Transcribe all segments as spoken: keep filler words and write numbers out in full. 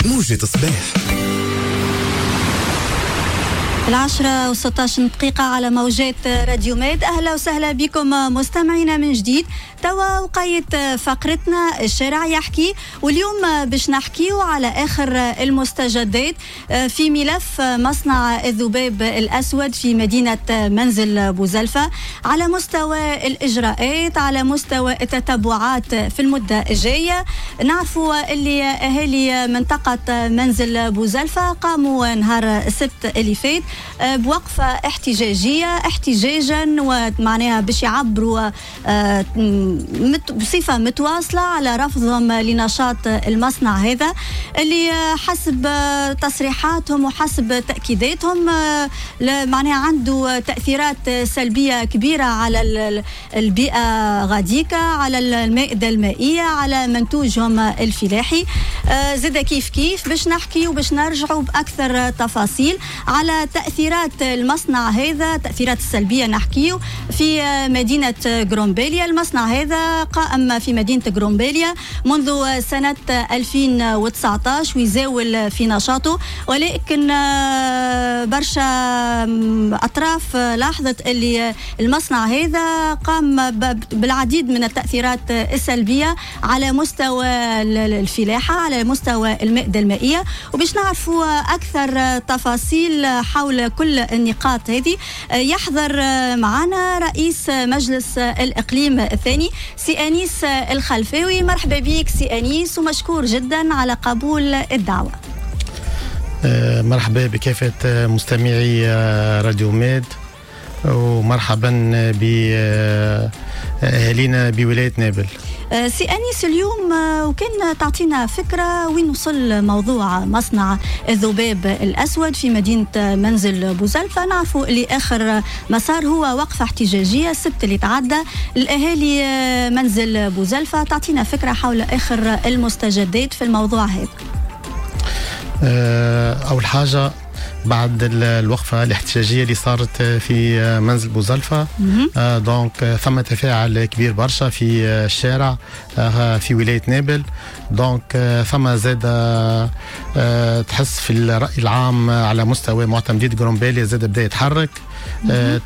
موجة صباح. العشرة وستاشر دقيقة على موجات راديو ميد. أهلا وسهلا بكم مستمعينا من جديد. توا وقيت فقرتنا الشارع يحكي، واليوم باش نحكيو على آخر المستجدات في ملف مصنع الذباب الأسود في مدينة منزل بوزلفة، على مستوى الإجراءات، على مستوى التتبعات في المدة الجاية. نعرفوا اللي أهالي منطقة منزل بوزلفة قاموا نهار السبت اللي فات بوقفة احتجاجية، احتجاجا ومعناها باش يعبروا بصفة متواصلة على رفضهم لنشاط المصنع هذا اللي حسب تصريحاتهم وحسب تأكيداتهم معناها عنده تأثيرات سلبية كبيرة على البيئة غاديكا، على المائدة المائية، على منتوجهم الفلاحي. زاد كيف كيف باش نحكي وباش نرجعوا بأكثر تفاصيل على تأثيرات المصنع هذا، تأثيرات السلبية نحكيو في مدينة غرومبيليا. المصنع هذا قائم في مدينة غرومبيليا منذ سنة ألفين وتسعطاش ويزاول في نشاطه، ولكن برشا أطراف لاحظت اللي المصنع هذا قام بالعديد من التأثيرات السلبية على مستوى الفلاحة، على مستوى المائدة المائية. وباش نعرفوا أكثر تفاصيل حول كل النقاط هذه يحضر معنا رئيس مجلس الإقليم الثاني سي أنيس الخلفاوي. مرحبا بك سي أنيس، ومشكور جدا على قبول الدعوة. مرحبا بكافة مستمعي راديو ميد، ومرحبا بأهالينا بولاية نابل. سي أنيس، اليوم وكان تعطينا فكرة وين وصل موضوع مصنع الذباب الأسود في مدينة منزل بوزلفة. نعرفوا اللي آخر مسار هو وقفة احتجاجية السبت اللي تعدى الأهالي منزل بوزلفة. تعطينا فكرة حول آخر المستجدات في الموضوع هذا. أول حاجة بعد الوقفة الاحتجاجية اللي صارت في منزل بوزلفة، donc ثم تفاعل كبير برشا في الشارع في ولاية نابل. donc ثم زاد تحس في الرأي العام على مستوى معتمدية غرومبيليا زاد بدأ يتحرك.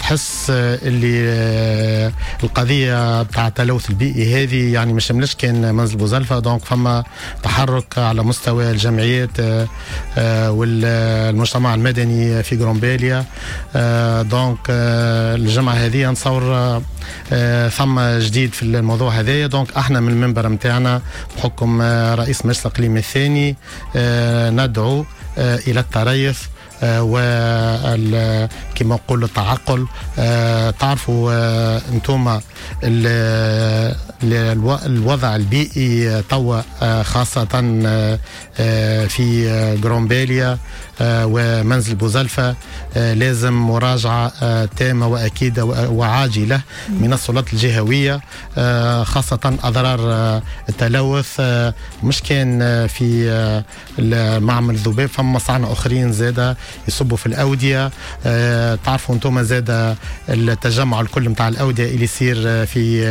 تحس اللي القضية بتاع التلوث البيئي هذه يعني ما شملش كان منزل بوزلفة. donc فما تحرك على مستوى الجمعيات والمجتمع المدني في غرومبيليا. donc الجمعة هذه نصور ثم جديد في الموضوع هذايا. donc احنا من المنبر نتاعنا بحكم رئيس مجلس الإقليم الثاني ندعو إلى التريث و كما نقول التعقل. تعرفوا انتم الوضع البيئي توا خاصة في غرومبيليا ومنزل بوزلفة لازم مراجعة تامة وأكيدة وعاجلة من السلطات الجهوية، خاصة أضرار التلوث مش كان في معمل الذباب، فما مصانع أخرين زادة يصبوا في الأودية. تعرفوا انتم زادة التجمع الكل متاع الأودية اللي يصير في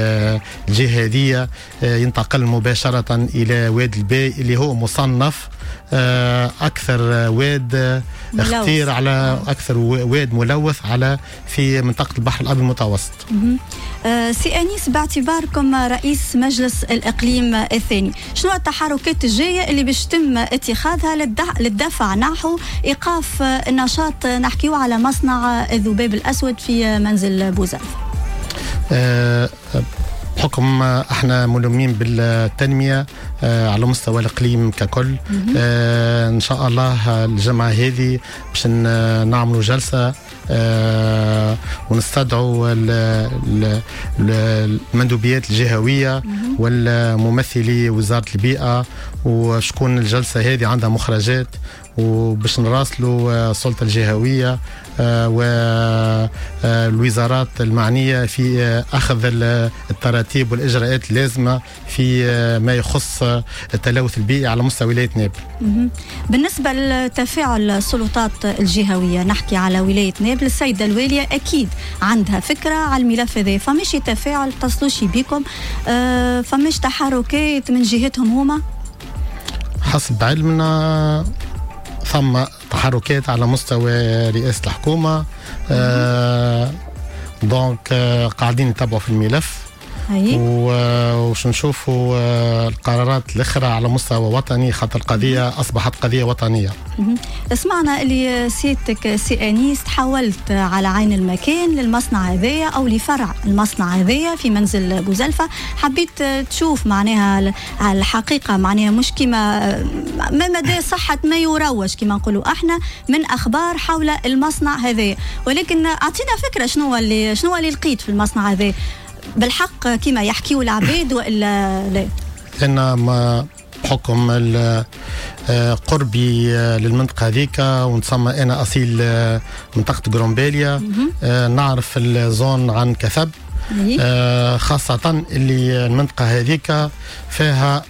الجهة هذه ينتقل مباشرة إلى واد الباي اللي هو مصنف أكثر واد اختير على أكثر واد ملوث على في منطقة البحر الأبيض المتوسط. أه سي أنيس، باعتباركم رئيس مجلس الإقليم الثاني، شنو التحركات الجاية اللي باش تم اتخاذها للدفع نحو إيقاف النشاط؟ نحكيو على مصنع الذباب الأسود في منزل بوزلفة. أه بحكم احنا ملمين بالتنمية على مستوى الإقليم ككل، اه ان شاء الله الجمعة هذه باش نعملوا جلسة اه ونستدعوا المندوبيات الجهوية والممثلي وزارة البيئة، وشكون الجلسة هذه عندها مخرجات، وباش نراسلوا السلطة الجهوية والوزارات المعنية في أخذ التراتيب والإجراءات اللازمة في ما يخص التلوث البيئي على مستوى ولاية نابل. بالنسبة لتفاعل السلطات الجهوية، نحكي على ولاية نابل، السيدة الوالية أكيد عندها فكرة على الملف هذا، فمش تفاعل تصلوش بكم، فمش تحركات من جهتهم هما؟ حسب علمنا ثم تحركات على مستوى رئاسة الحكومة، آه donc آه قاعدين نتابعوا في الملف وش نشوفوا القرارات الاخرى على مستوى وطني، خاطر القضية اصبحت قضية وطنية. سمعنا اللي سيادتك سي انيس تحولت على عين المكان للمصنع هذايا او لفرع المصنع هذايا في منزل بوزلفه، حبيت تشوف معناها الحقيقة، معناها مش كما ما مدى صحة ما يروج كما نقولوا احنا من اخبار حول المصنع هذايا، ولكن اعطينا فكرة شنو اللي شنو اللي لقيت في المصنع هذا بالحق كما يحكيوا العباد والا لا؟ انا ما بحكم قربي للمنطقة هذيك ونسمى انا اصيل منطقة قرمبالية، نعرف ال zone عن كثب، خاصة اللي المنطقة هذيك فيها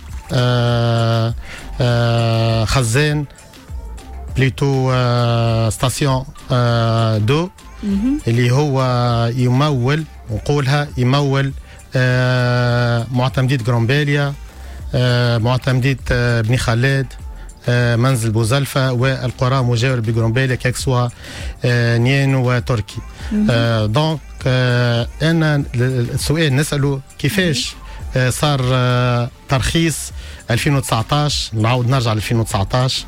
خزان plutôt station d'eau اللي هو يمول، نقولها يمول آه معتمدية قرمبالية، آه معتمدية آه بني خلاد، آه منزل بوزلفة والقرى مجاورة بقرمبالية que ce soit آه نيان وتركي. آه donc آه أنا السؤال نسأله كيفاش آه صار آه ترخيص ألفين وتسعطاش، نعاود نرجع ل ألفين وتسعطاش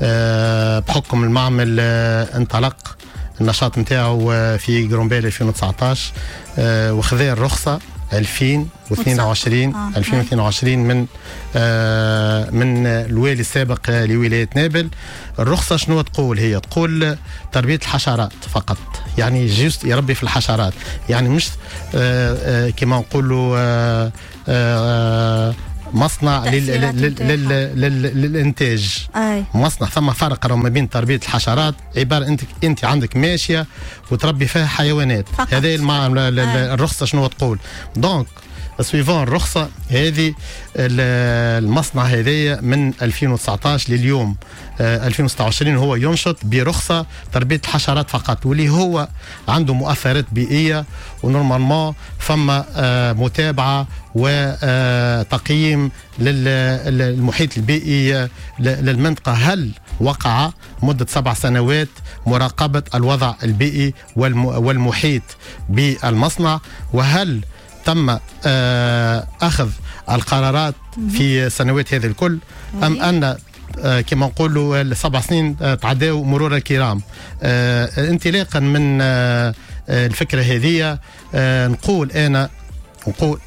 آه بحكم المعمل آه انطلق النشاط نتاعو في قرمبالية ألفين وتسعطاش آه وخذا الرخصة ألفين واثنين وعشرين آه. ألفين واثنين وعشرين من آه من الوالي السابق لولاية نابل. الرخصة شنو تقول؟ هي تقول تربية الحشرات فقط، يعني juste يربي في الحشرات، يعني مش آه آه كما نقولوا آه آه مصنع لل... لل... لل... لل... للانتاج. أي. مصنع، ثم فرق ما بين تربيه الحشرات، عبارة انت انت عندك ماشية وتربي فيها حيوانات، هذه المع... الرخصة شنو تقول. donc suivant الرخصة هذه المصنع هذايا من ألفين وتسعطاش لليوم ألفين وستة وعشرين هو ينشط برخصه تربيه الحشرات فقط، واللي هو عنده مؤثرات بيئية، و normalement فما متابعه وتقييم للمحيط البيئي للمنطقة. هل وقع مده سبع سنوات مراقبة الوضع البيئي والمحيط بالمصنع؟ وهل تم أخذ القرارات في سنوات هذه الكل، أم أن كما نقولوا السبع سنين تعداوا مرور الكرام؟ انطلاقا من الفكرة هذه نقول أنا نقول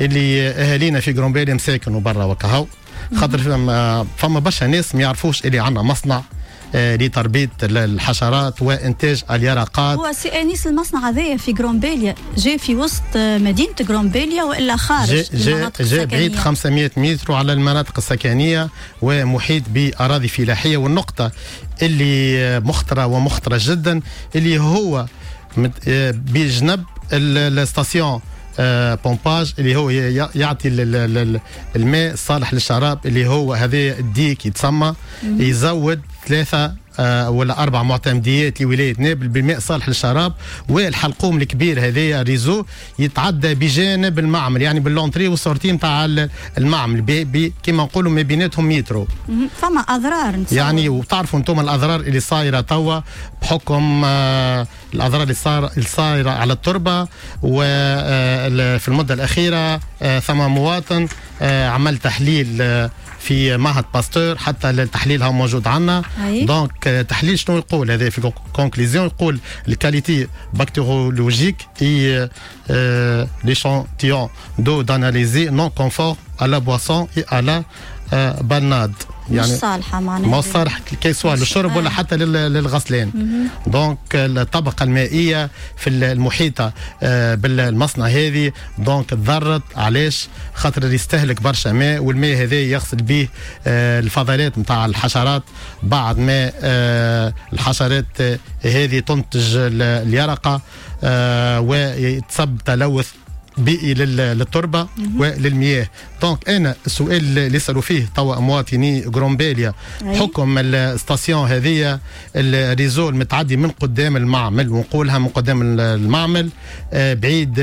اللي أهالينا في قرمبالية مساكن وبرا وكهو، خاطر فما برشا ناس ما يعرفوش اللي عندنا مصنع لتربية الحشرات وإنتاج اليرقات. هو سي أنيس المصنع هذايا في قرمبالية جاي في وسط مدينة قرمبالية وإلا خارج؟ جاي جا بعيد خمسمائة متر على المناطق السكنية ومحيط بأراضي فلاحية. والنقطة اللي مخطرة ومخطرة جدا اللي هو بجنب ال station pompage اللي هو يعطي الماء الصالح للشراب، اللي هو هذا ال digue يتسمى، يزود ثلاثة ولا أربع معتمديات لولاية نابل بالماء صالح للشراب. والحلقوم الكبير هذايا réseau يتعدى بجانب المعمل، يعني بال l'entrée وال sortie نتاع المعمل بي بي كما نقولوا ما بيناتهم مترو. فما أضرار نتصور. يعني وتعرفوا انتم الأضرار اللي صايرة توا بحكم آه الأضرار اللي صار الصايرة على التربة. وفي المدة الأخيرة آه ثم مواطن آه عمل تحليل آه في معهد باستور، حتى التحليل هو موجود عندنا. donc تحليل شنو يقول هذا في conclusion؟ يقول ال qualité bactériologique et l'échantillon d'eau d'analyse non conforme à la boisson et à la baignade. يعني مش صالحه معناها، مش صالح que ce soit للشرب ولا حتى للغسلان. donc الطبقة المائية في المحيطة بالمصنع هذه donc تضرت. علاش؟ خاطر يستهلك برشا ماء، والماء هذا يغسل به الفضلات نتاع الحشرات بعد ما الحشرات هذه تنتج اليرقه ويتسبب تلوث بيئي للتربه وللمياه. donc انا السؤال اللي يسالوا فيه توا مواطني قرمبالية حكم ال station هذه ال réseau المتعدي من قدام المعمل، ونقولها من قدام المعمل بعيد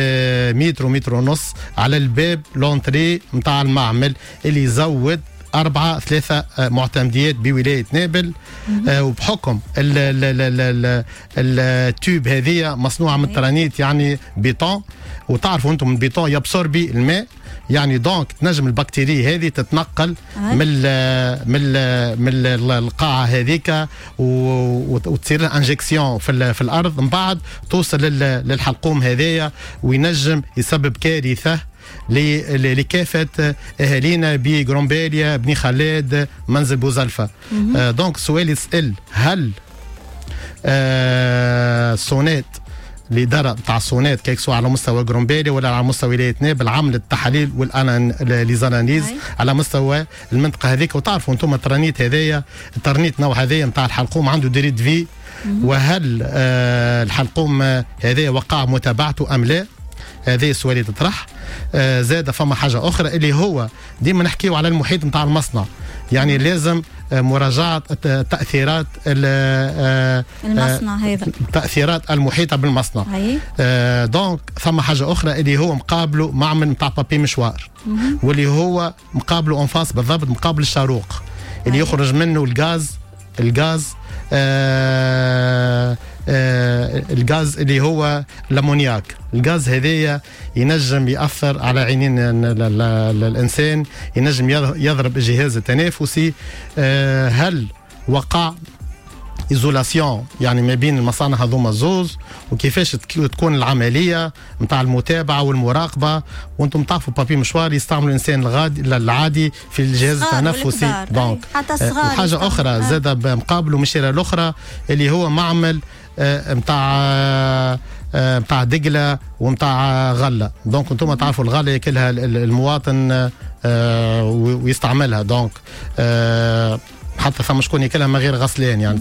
متر ومتر ونص على الباب l'entrée نتاع المعمل اللي يزود أربعة ثلاثة آه، معتمديات بولاية نابل. آه وبحكم ال tube هذه مصنوعة من الترانيت، يعني بيتون، وتعرفوا انتم البيتون ي absorber الماء، يعني donc تنجم البكتيريا هذه تتنقل من ال من ال من القاعة هذيك وتصير لها injection في, في الارض، من بعد توصل للحلقوم هذايا وينجم يسبب كارثة لكافة اهالينا بجرومباليا، بني خلاد، منزل بوزلفه. آه donc السؤال يسال: هل آه SONEDE، الادارة نتاع ال SONEDE، que ce soit على مستوى جرومبالي ولا على مستوى ولاية نابل، عملت التحاليل وال les analyses على مستوى المنطقة هذيك؟ وتعرفوا انتم الترانيت هذايا، الترنيت نوع هذايا نتاع الحلقوم عنده durée de vie. وهل آه الحلقوم هذايا وقع متابعته ام لا؟ هذا السؤال يتطرح. آه زاد فما حاجة اخرى اللي هو ديما نحكيو على المحيط نتاع المصنع، يعني لازم آه، مراجعه تاثيرات آه، المصنع هذا. التاثيرات المحيطة بالمصنع. آه donc ثم حاجة اخرى اللي هو مقابله معمل نتاع papier mouchoir، واللي هو مقابله en face بالضبط، مقابل الشاروق اللي يخرج منه الغاز الغاز آه آه الغاز اللي هو l'ammoniac. الغاز هذايا ينجم ياثر على عينين الانسان، ينجم يضرب الجهاز التنافسي. آه هل وقع isolation يعني ما بين المصانع هذوما زوز؟ وكيفاش تكون العملية نتاع المتابعة والمراقبه؟ وانتم تعرفوا papier mouchoir يستعملوا الانسان الغادي العادي في الجهاز التنفسي. donc حتى الصغار. وحاجه اخرى زاد مقابله من الشيره الاخرى اللي هو معمل نتاع نتاع دقله ونتاع غله. donc انتم تعرفوا الغلة ياكلها المواطن آه، ويستعملها، donc آه، حتى ثم شكون ياكلها من غير غسلان يعني.